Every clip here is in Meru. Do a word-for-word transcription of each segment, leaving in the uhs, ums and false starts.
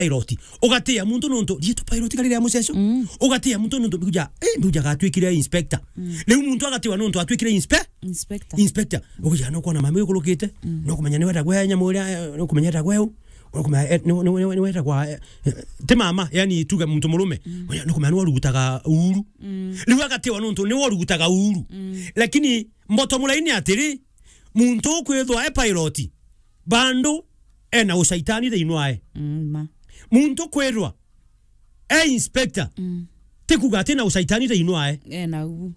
pilot. Ugatia muntu nontu, riitwa pilot kari ria muceco. Mm. Ugatia muntu nontu, mbiuja, eh, mbiuja gatwikire inspector. Mm. Riu muntu agatiwa nontu atwikire inspe-, Inspector. Inspector. Ugaja no kuona mama uyu ukurukite, mm, no kumenya ni wetagwa nyamu uria, eh, no kumenya etagwa eu, no kumenya, eh, ni, ni, ni, ni wetagwa, eh, eh, ti mama, yani tuge muntu murume. Mm. Ugaja no kumenya ni warugutaga uru. Mm. Riu agatiwa nontu ni warugutaga uru. Mm. Lakini mboto mulaini atiri, muntu ukwithwa e pilot, bandu ena ucaitani thiini wae. Mm, ma. Muntu kwirwa e inspector, mm, ti kuga ati na ucaitani thiini wae. Ena u.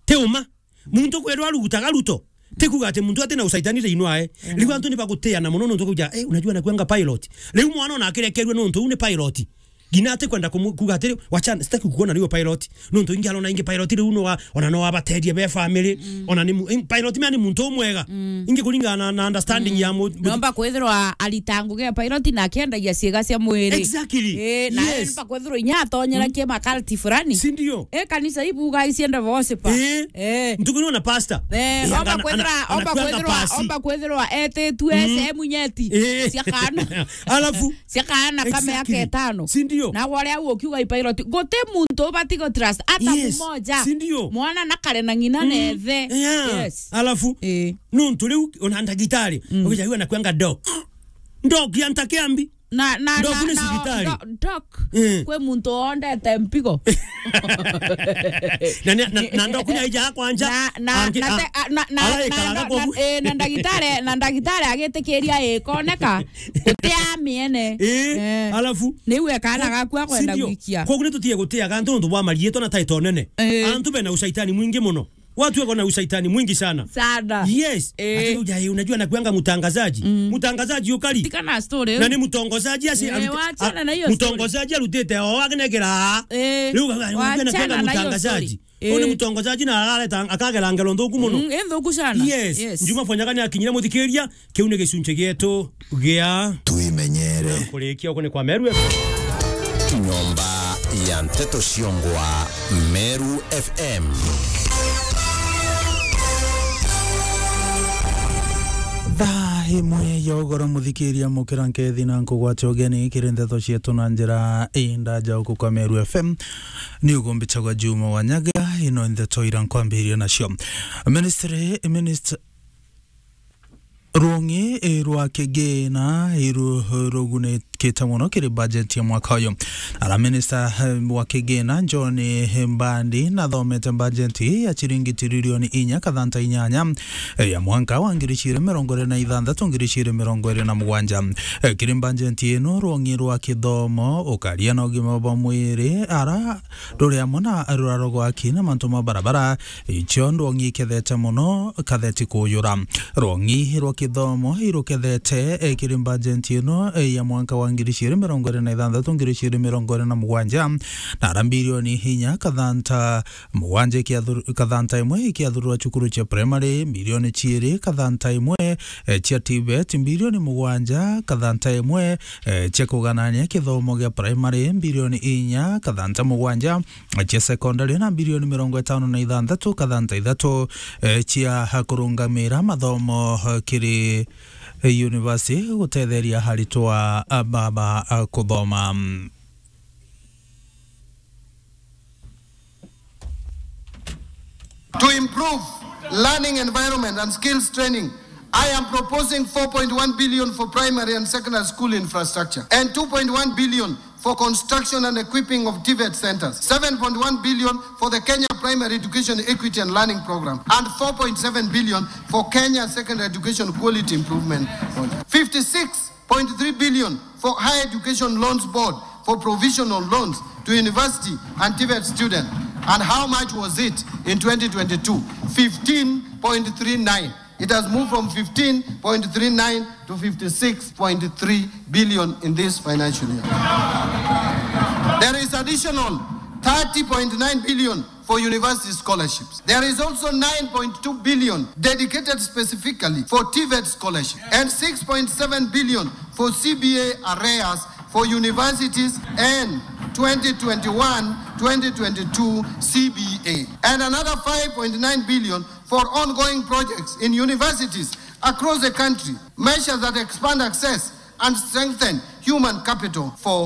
Ti uma. Muntu kwirwa arugutaga ruto, ti kuga ati muntu ati na ucaitani thiini wae. Ena u. Riu antu ni bagutiana mono nontu kuja, eh, unajua nakuanga pilot. Riu mwana ona akirekerua nontu u ni pilot. Ngina ati kwenda kumu-, kuga atiri, "Wacha, sitaki kukuona niwe pilot." Nontu ingi arona ingi pilot riu no wa-, ona no abaterie be family, mm, ona ni mu-, in-, pilot mea ni muntu umwega. Mm. Ingi kuringana na, na understanding, mm, ya mu-, nomba kwithirwa arita ngugi ya pilot na akiendagia ciega cia mwiri. Exactly. Eh, na yes, nomba kwithirwa inya atonyera, mm, kiema cult fulani. Si ndio? Eh, kanisa ibuga isiende worship. Eh. Eh. Ntuku ni ona pastor. Eh, eh, omba ana-, kwithirwa, ana-, omba anakuanga kwithirwa, pasi. Omba kwithirwa etitue, mm, sehemu nyeti, eh, cia kana. Alafu, cia kaana ka miaka, exactly, itano. Si ndio? Na wale au ukiuga i pilot, guti muntu ubati go trust, hata, yes, mmoja. Si ndio? Mwana na kare na ng'ina, mm, na ithe. Yeah. Yes. Alafu, eh, nontu riu ona ndagitari, mm, ukija yua na kwanga doc. Doc ya ntakiambi. Na, na, doc na, ni na, cibitari. Do-, doc, eh, kwi muntu ondete mpigo. Na, na, na, na doc ni aija kwanja. Na, na, angi-, na, a-, te-, a-, na, na, araikaraga na, na, kwogu, eh, na ndagitari, na ndagitari agitikiria ikoneka. Gutia miene. Eh, eh, alafu? Niu ekana gaku akwenda, si ndio, gwikia. Koguo ni tutige gutiaga antu nontu bwa mariitwa na title nene. Eh. Antu bena ushaitani mwingi mono. Watu wako na ushaitani mwingi sana. Sana. Yes. Eh. Ati unajua, unajua nakuanga mtangazaji. Mm. Mtangazaji ukari. Tikana story. Na ni mtongozaji asi-, eh, arute-, wachana a-, na hiyo story. Mtongozaji arutite o akinegera. Eh, riu unajua nakuanga mtangazaji. Wachana na hiyo story. Eh. Uni mtongozaji na arareta, akagera ngero nthuku mono. Mm, eh, nthuku sana. Yes. Yes. Juma Fonyaka ni akinyira muthikiria, kiu ni gicunchi gietu gia Twimenyere. Kurikia uko ni kwa Meru F M. Nyomba ya nteto ciongwa Meru F M. Thaa imwe ya ugoro, muthikiria, mukira nkethi na nkugwate ugeni kiri nteto cietu na njira indaja uku kwa Meru F M. Ni ugumbicagwa Juma Wanyaga, ino ndeto ira nkwambiria nacio. Ministry, minist-, rung'i, eh, rwa kigina, eh, ru-, rugunikite mono kiri bajeti ya mwaka uyu. Ara minista, eh, wa kigina John, eh, Mbadi nathomete bajeti ya ciringi tiririoni inya kathanta inyanya, eh, ya mwanka wa ngiri ciiri mirongo iri na ithanthatu, ngiri ciiri mirongo iri na mugwanja. Eh, kiri bajeti ino, rung'i rwa kithomo, ukaria na ugima bwa mwiri, ara ruri amwe na ruraro rwa aki na mantu ma barabara, icio ndwong'i ikethete mono katheti kuyura. Rwong'i rwa kithomo irukethete, eh, kiri bajeti ino, eh, ya mwanka wa ngiri ciiri mirongo iri na ithanthatu, ngiri ciiri mirongo iri na mugwanja, na ara mbirioni inya kathanta mugwanja ikiathu-, kathanta imwe ikiathurwa cukuru cia primary, mbirioni ciiri kathanta imwe, eh, cia TVET, mbirioni mugwanja kathanta imwe, eh, cia kuganania kithomo gia primary, mbirioni inya kathanta mugwanja, eh, cia secondary, na mbirioni mirongo itano na ithanthatu kathanta ithatu, eh, cia kurungamira mathomo, eh, kiri, eh, university gutetheria aritwa, ah, baba, ah, kuthoma. To improve learning environment and skills training, I am proposing four point one billion for primary and secondary school infrastructure and two point one billion for construction and equipping of TVET centers, seven point one billion for the Kenya Primary Education Equity and Learning Program, and four point seven billion for Kenya Secondary Education Quality Improvement Project. Fifty-six point three billion for Higher Education Loans Board for provisional loans to university and TVET students. And how much was it in twenty twenty-two? Fifteen point three nine. It has moved from fifteen point three nine to fifty-six point three billion in this financial year. There is additional thirty point nine billion for university scholarships. There is also nine point two billion dedicated specifically for TVET scholarship and six point seven billion for CBA arrears for universities and twenty twenty-one twenty twenty-two CBA, and another five point nine billion for ongoing projects in universities across the country, measures that expand access and strengthen human capital for